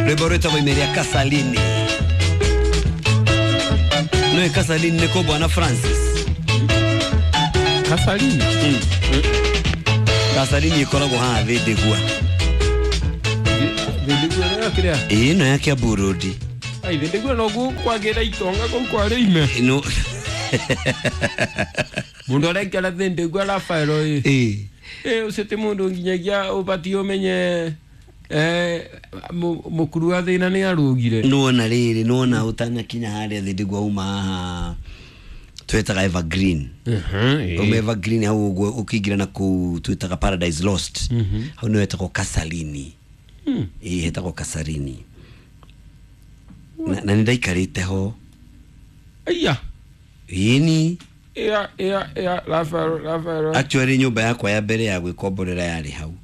Rwimbo rwitagwo Imeria Kasalini. Nĩ Kasalini nĩ kũ bwana Francis? Kasalini. Kasalini ĩkoragwo haha Thĩndĩgua. Thĩndĩgua nĩyo kĩrĩa? Ĩĩ ĩno ya Kiambu Road. Ai thĩndĩgua noguo kwagĩra itonga kũu kwarĩ ime. Ĩno Mũndũ arekera thĩndĩgua Rafaelo ĩ. ĩĩ. Ĩ ũcio ti mũndũ nginyagia ũbatiĩ ũmenye mũkuru wa thĩna nĩ arũgire. Nĩwona rĩrĩ nĩwona ũtanakinya harĩa Thĩndĩgua uma haha twĩtaga Evergreen. Uma Evergreen hau ũguo ũkĩingĩra na kũu twĩtaga Paradise Lost. Hau nĩho hetagwo Kasalini. Ĩĩ hetagwo Kasalini. Na nĩ ndaikarĩte ho. Aya. Ĩni. Ĩa ĩa ĩa Rafaelo Rafaelo. Actually nyũmba yakwa ya mbere ya gwĩkomborera yarĩ hau.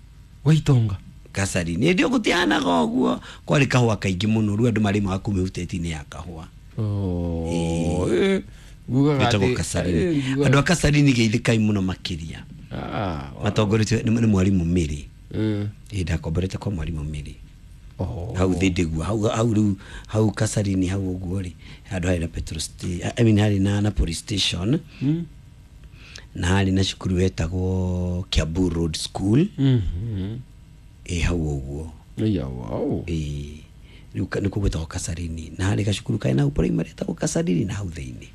Wa itonga. Kasalini. Ĩndĩ gũtianaga ũguo kwarĩ kahũa kaingĩ mũno rĩu andũ marĩmaga kũu mĩhuteti-inĩ ya kahũa. Oh, eh, ngugaga Ĩtagwo atĩ- Kasalini. ngugaga- Andũ a Kasalini geithĩkai mũno makĩria. Ah, wa- Matongoretio nĩ mwarimũ Mĩrĩ. Mm. Ĩĩ ndakomborete kwa mwarimũ Mĩrĩ. Oh. Hau Thĩndĩgua hau hau rĩu hau Kasalini hau ũguo rĩ handũ harĩ na petrol I mean harĩ na police station. Na harĩ na cukuru wetagwo Kiambu Road School. Ĩ hau ũguo. Aya, wow. Ĩĩ rĩu nĩkuo gwĩtagwo Kasalini na harĩ gacukuru karĩ na hau primary etagwo Kasalini na hau thĩinĩ.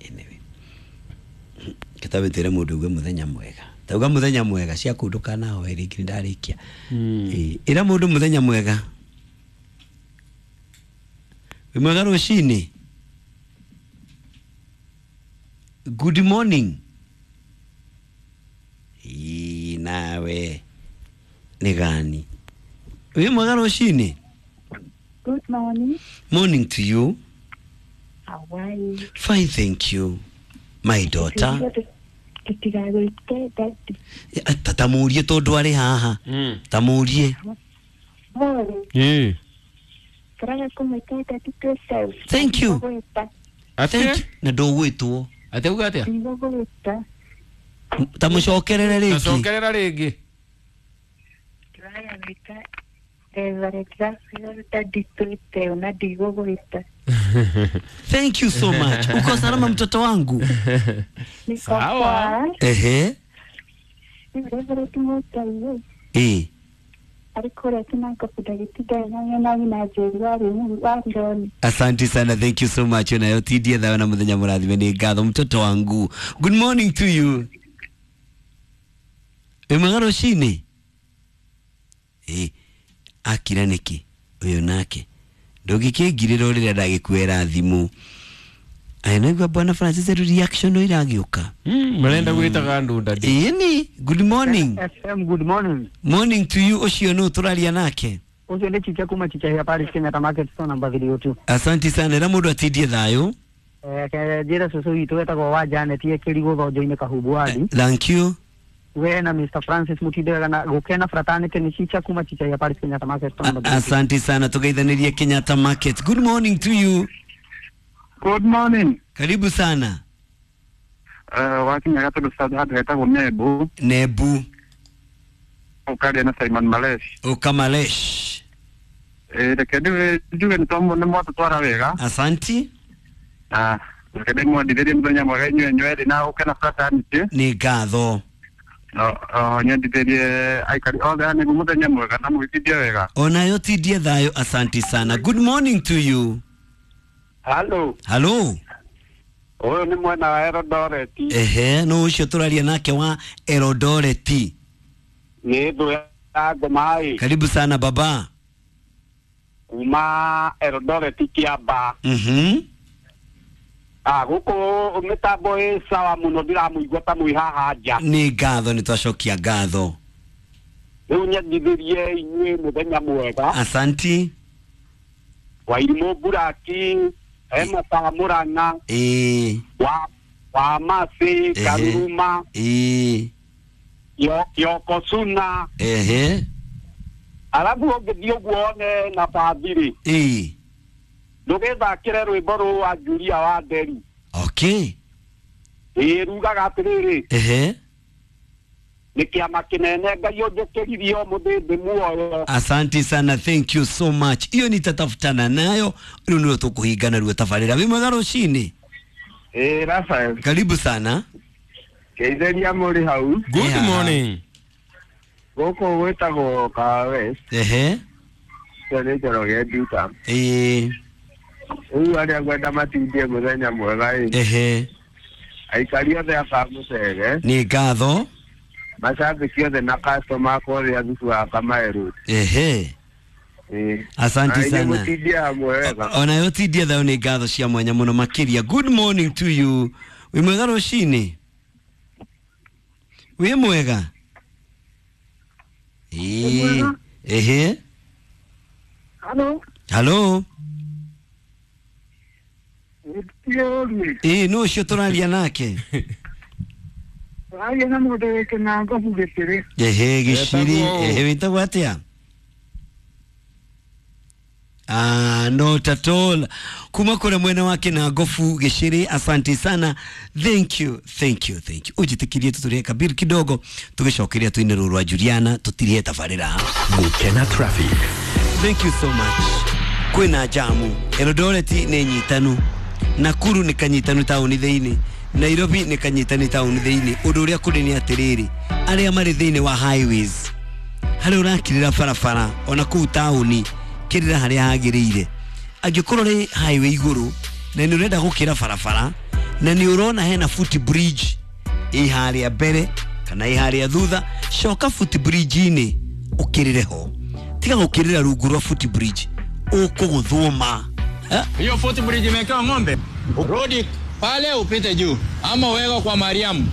Anyway kĩtabĩtĩre mũndũ uge mũthenya mwega tauga mũthenya mwega cia kũu ndũkanahoe rĩngĩ nĩndarĩkia. Ĩĩ ĩra mũndũ mũthenya mwega. Wĩ mwega rũcinĩ. Good morning. Ĩĩ nawe nĩ gani? Wĩ mwega rũcinĩ. Good morning. Morning to you. How are you? Fine, thank you. My daughter. Tũtigagwĩte daddy. Ta mũrie tondũ arĩ haha. Ta mũrie. Morning. Ĩĩ. Tũraga kũmwĩta daddy twĩceu. Thank you. Ndigũgwĩta. Thank you. Na ndũgwĩtwo. Atĩ uga atĩa? Ndigũgwĩta. Ta mũcokerere rĩngĩ. Acokerera rĩngĩ. Tũraga gwĩta Reverend Raphael daddy twĩteu na ndigũgwĩta. Thank you so much. Uko salama mtoto wangu? Niko Sawa. poa. Ehe. Rĩu Reverend Mũigai Ĩĩ. arĩ kũrĩa Kinango ndagĩtinda na nyina Njeri wa Rironi. Asante sana, thank you so much. Nayo tindie thayo na muthenya mũrathime nĩ ngatho mtoto wangu. Good morning to you. Wĩ mwega rũcinĩ? Ĩĩ. Akira nĩkĩ? Ũyũ nake. Ndũngĩkĩngirĩra rĩrĩa ndagĩkuera thimũ. Aya naigua bwana Francis rĩu reaction no iragĩũka. Marenda gwĩtaga andũ daddy. Ĩĩ ni, good morning. FM, good morning. Morning to you ũcio nũ tũraria nake? Ũcio nĩ Chicha kuma Chicha ya Paris Kenyatta Market store number 302. Asante sana, ĩra mũndũ atindie thayũ. Njĩra cũcũ witũ wetagwo wa Janet ekĩrigwo thonjo-inĩ Kahubu wadi. Thank you. We na Mr Francis mũtinde wega na gũkena fraternity nĩ Chicha kuma Chicha ya Paris Kenyatta Market store number 302. Asante sana, tugeithanirie Kenyatta Market. Good morning to you. Good morning. Karibu sana. Wakinya gatũndũ handũ hetagwo Nebu Nebu ũkaria na Simon Malesh. Ukamalesh. Reke njuge nĩ mwatũtwara wega. Asanti. Na reke ndĩmwendithĩrie mũthenya mwega inyuĩ inyuerĩ na ũke na fraternity. Nĩ ngatho. Nyendithĩrie aikari othe a Nebu mũthenya mwega na mũgĩtindie wega. Onayo tindie thayo, asanti sana. Good morning to you. Hello. Hello. Ũyũ nĩ mwena wa Eldoret. Ehe, no ũcio tũraria nake wa Eldoret. Nĩ thũ ya ngoma ĩ. Karibu sana baba. Kuma Eldoret Kĩamba. Gũkũ mĩtambo ĩ sawa mũno ndiramũigua ta mwĩ haha nja. Nĩ ngatho, nĩ twacokia ngatho. Rĩu nyendithĩrie inyuĩ mũthenya mwega. Asanti. Wairimũ Buraki, Emma Murang'a. Ĩĩ. Wa Masi, Karuruma. Ĩĩ. Yoko Suna. Ehe. Alafu ũngĩthiĩ ũguo one na bathiri. Ĩĩ. Ndũgĩthakĩre rwĩmbo rwa Julia wa Nderi. Okay. Ĩĩ rugaga atĩrĩrĩ. Ehe. Nĩ kĩama kĩnene Ngai ũnjĩkĩririe ũmũthĩ muoyo. Asanti sana, thank you so much. Iyo nitatafutana nayo rĩu nĩwe tũkũhingana ruo tabarĩra. Wĩ mwega rũcinĩ? Ĩĩ Rafael. Karibu sana. Ngeithĩria mũrĩ hau. Good Yeah. morning. Gũkũ gwĩtagwo Kahawa West. Ehe. Ũcio nĩ Njoroge Nduta. Ĩĩ. Rĩu arĩa ngwenda matindie mũthenya mwega ĩ. Ehe. Aikari othe a Kamũcege, Nĩ ngatho. macambĩki othe na customer akwa othe a thubu wa Kamae Road. Ehe. Ĩĩ. Asanti Na inyuĩ sana. mũtindie hamwe wega. Onayo tindia thayo nĩ ngatho cia mwanya mũno makĩria. Good morning to you. Wĩ mwega rũcinĩ? Wĩ mwega? Ĩĩ. Ehe. Halo. Halo. Ĩĩ. Ĩĩ nũ ũcio tũraria nake? Aria na mũndũ wĩ kĩnangobu gĩtĩrĩ. Ehe, gĩciri. Wĩtagwo ũũ? Ehe, wĩtagwo atĩa? Ah, not at all. Kuma kũrĩa mwena wa Kĩnangobu gĩcĩrĩ, asante sana. Thank you, thank you, thank you. Ũnjĩtĩkĩrie tũtũrĩe kabiri kidogo tũgĩcokeria tũine rũrũ rwa Juliana tũtirĩhe tabarĩra. Gukena traffic. Thank you so much. Kwĩna jamu Eldoret nĩ nyitanu, Nakuru nĩ kanyitanu taũni thĩinĩ, Nairobi nĩ kanyitanu taũni thĩinĩ. Ũndũ ũrĩa kũrĩ nĩ atĩrĩrĩ, arĩa marĩ thĩinĩ wa highways, harĩa ũrakirĩra barabara ona kũu taũni, kĩrĩra harĩa hagĩrĩire. Angĩkorwo rĩ highway igũrũ na nĩ ũrenda gũkĩra barabara na nĩ ũrona hena foot bridge ĩ harĩa mbere kana ĩ harĩa thutha, coka foot bridge-inĩ ũkĩrĩre ho, tiga gũkĩrĩra rungu rwa foot bridge, ũkũgũthwo ma. Eh? Hiyo footbridge imewekewa ng'ombe, rudi pale upite juu, ama uwekwe kwa Mariamu.